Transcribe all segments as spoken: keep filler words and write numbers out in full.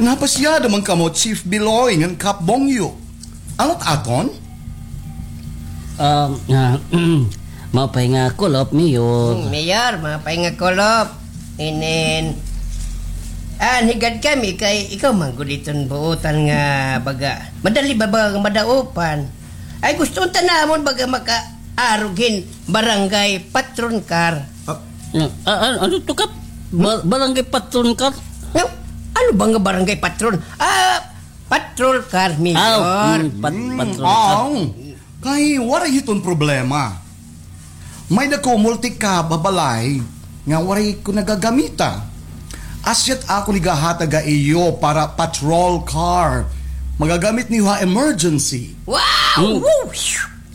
Napasyada man kamo, Chief Biloy ngan Kap Bongyo. Ano it aton? Um, ah, maupay nga kulop, Mayor. Hmm, Mayor, maupay nga kulop. Inin, ah, higad kami kay ikaw man gud iton buotan nga baga. Madali ba ba nga madaupan? Ay, gusto unta namon baga makaarog hin barangay patron car. Ah, ah, ah, ano to, Kap? Ba-, barangay patron car? Nga, ano ba nga barangay patron? Ah, patrol car, Mayor. Ah, mm, pat-, patrol car. Aw, kay waray hiton problema. May-ada ko multi-cab ha balay nga waray ko nagagamita. Asya it akon igahatag ha iyo para patrol car. Magagamit niyo ha emergency. Wow! Mm. Woo!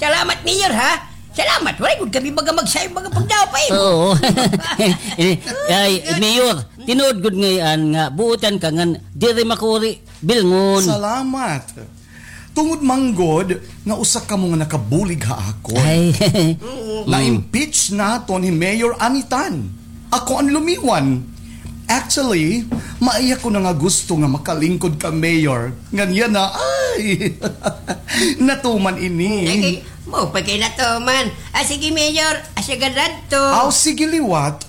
Salamat, Mayor, ha? Salamat. Waray gud kami baga magsayod baga pagdaw pa imo. Oo. Eh, ay, Mayor, tinuod gud ngay-an nga buotan ka ngan diri makuri bilngon. Salamat. Tungod man gud nga usa kamo nga nakabulig ha akon. Ay. Na-impeach naton hi Mayor Anitan. Ako an lumiwan. Actually, maiha ko na nga gusto nga makalingkod ka, Mayor. Ngan yana, ay, natuman ini. Ay, kay, maupay kay natuman. Ah, sige, Mayor. Ah, sige, radto. Aw, sige, liwat.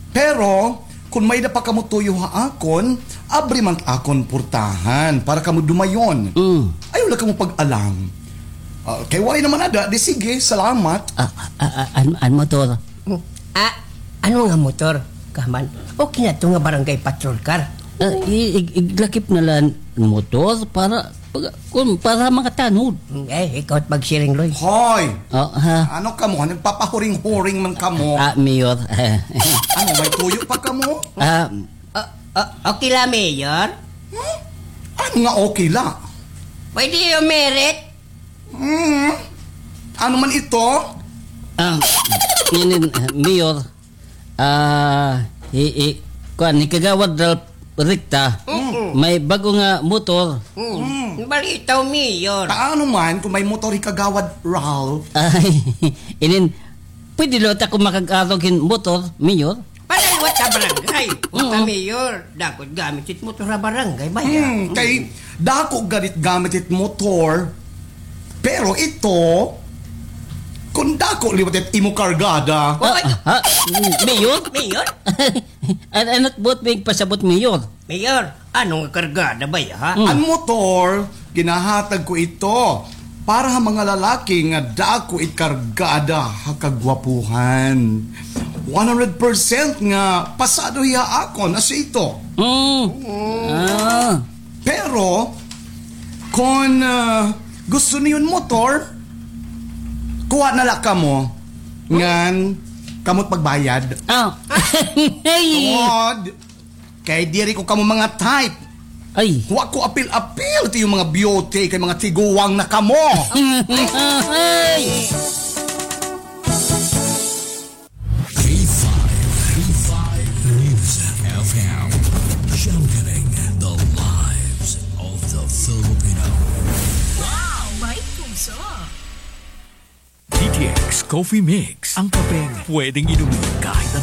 Pero, kon may-ada pa kamo tuyo ha akon, abri man it akon portahan para kamo dumayon. Mm. Ayaw la kamo pag-alang. Ah, kay waray naman ada, di sige, salamat. Ah, ah, ah, an, an motor? Hmm. Ah, ano nga motor? Kaman, okay na to nga barangay patrol car. Ah, i-, ig-, iglakip na lang motor para, para, kun, para makatanod. Hmm, eh, ikaw it magsiring, Loy. Hoy! Oh, ha? Ano kamo? Nagpapahuring-huring man kamo? Ah, Mayor. Ano, may tuyo pa kamo? Ah, ah, ah, okay la, Mayor? Hmm? Ano nga okay la? Pwede yung merit? Hmm. Ano man ito? Ah, inin, ah, Mayor, ah, hi, hi, kuan, hi Kagawad Ralph Ricta, mm, may bag-o nga motor. Mm. Balitaw, Mayor. Paano man kung may motor hi Kagawad Ralph? Ay, inin, pwede liwat ako makag-arog hin motor, Mayor? Para liwat ha barangay. Puta, Mayor. Dako it gamit it motor ha barangay, baya. Hmm, kay dako gad it gamit it motor. Pero ito, kon dako liwat it imo kargada. Ah, ah, Mayor? Mayor? An-, ano it buot mo igpasabot, Mayor? Mayor, ano nga kargada, baya, ha? Hmm. An motor, ginahatag ko ito para ha mga lalaki nga dako it kargada ha kagwapuhan. One hundred percent nga pasado hiya akon, asya ito. Mm. Ah. Pero, kon, ah, gusto niyo hin motor, kuha na la kamo. Ngan, kamo it magbayad. Ah. Tungod, kay diri ko kamo mga type. Ay. Wa ko apil-apil it iyo mga beauty, kay mga tiguwang na kamo. Ay. K five, K five News F M, championing the lives of the Filipino. Wow, may puso. D T X Coffee Mix, ang kapeng pwedeng inumin kahit